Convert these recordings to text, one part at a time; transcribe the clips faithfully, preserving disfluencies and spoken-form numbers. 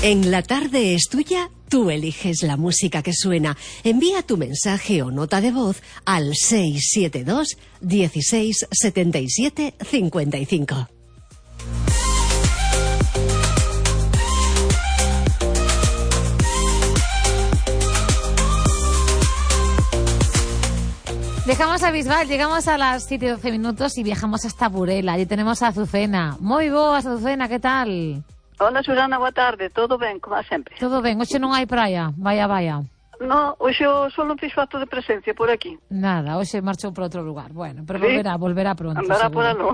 En La Tarde es Tuya, tú eliges la música que suena. Envía tu mensaje o nota de voz al seis siete dos, dieciséis, setenta y siete, cincuenta y cinco. Dejamos a Bisbal, llegamos a las siete y doce minutos y viajamos hasta Burela. Allí tenemos a Azucena. Moi boas, Azucena, que tal? Hola, Susana, boa tarde. Todo ben, como sempre? Todo ben. Hoxe non hai praia. Vaya, vaya. No, hoxe o sol non fixo acto de presencia por aquí. Nada, hoxe marchou por outro lugar. Bueno, pero ¿Sí? volverá, volverá pronto. Andará seguro. por aló.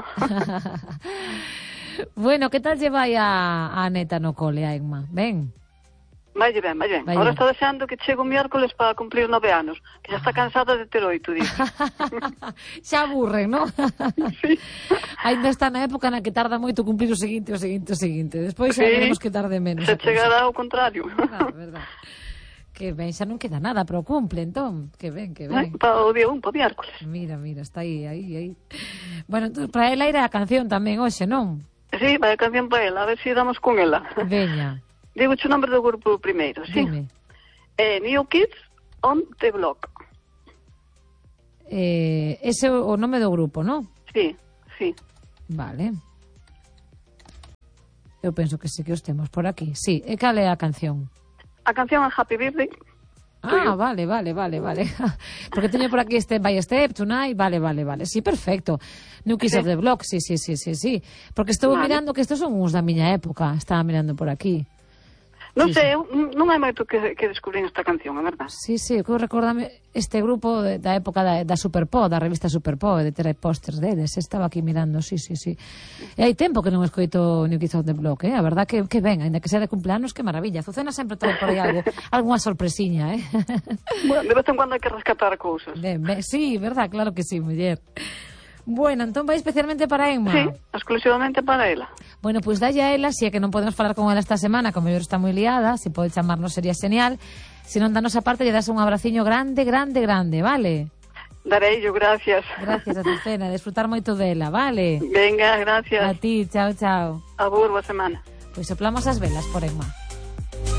Bueno, que tal lleva a, a neta no cole, a Emma? Ben. Vai ben, vai ben. Vai Ahora ben. está deseando que chegue o miércoles para cumplir nove anos, que xa está cansada de ter oito, dice. Xa aburren, non? Sí. Ainda está na época na que tarda moito cumplir o seguinte, o seguinte, o seguinte. Despois xa Sí. veremos que tarde menos. Se a cousa. chegará ao contrario. Ah, verdad. Que ben, xa non queda nada, pero cumple, entón. Que ben, que ben. Para o día un, para o miércoles. Mira, mira, está aí, aí, aí. Bueno, entón, para ela era a canción tamén hoxe, non? Sí, vai a canción para ela, a ver se damos con ela. Veña, Digo o nombre do grupo primeiro, sí? dime. Eh, New Kids on the Block. Eh, ese é o nome do grupo, non? Sí, sí. Vale. Eu penso que sí que os temos por aquí. Sí, e cal é a canción? A canción é Happy Birthday. Ah, vale, vale, vale, vale. Porque teño por aquí Step by Step, Tonight, vale, vale, vale. Sí, perfecto. New Kids Sí. of the Block, sí, sí, sí, sí, sí. Porque estou Vale. mirando que estos son uns da miña época. Estaba mirando por aquí. Non Sí, sei, eu non hai moito que, que descubrín esta canción, é verdade. Sí, sí, que recordame este grupo de, da época da, da Superpop, da revista Superpop, de ter pósters deles. Estaba aquí mirando, sí, sí, sí. E hai tempo que non escoito New Kids of the Block, eh? A verdad que, que ben, ainda que sea de cumpleanos, que maravilla. Azucena sempre trae por aí algo, algunha sorpresiña, eh? Bueno, de vez en cuando hai que rescatar cousas. Ben, ben, sí, verdad, claro que sí, muller. Bueno, entón vai especialmente para Emma. Sí, exclusivamente para ela. Bueno, pois pues dalle a ela, si é que non podemos falar con ela esta semana, como mellor está moi liada, se pode chamarnos sería genial. Se non danos a parte, lle das un abraciño grande, grande, grande, vale? Darei yo, gracias. Gracias, Azucena, desfrutar moito dela, vale? Venga, A gracias. ti, chao, chao. Abur, boa semana. Pois soplamos as velas por Emma.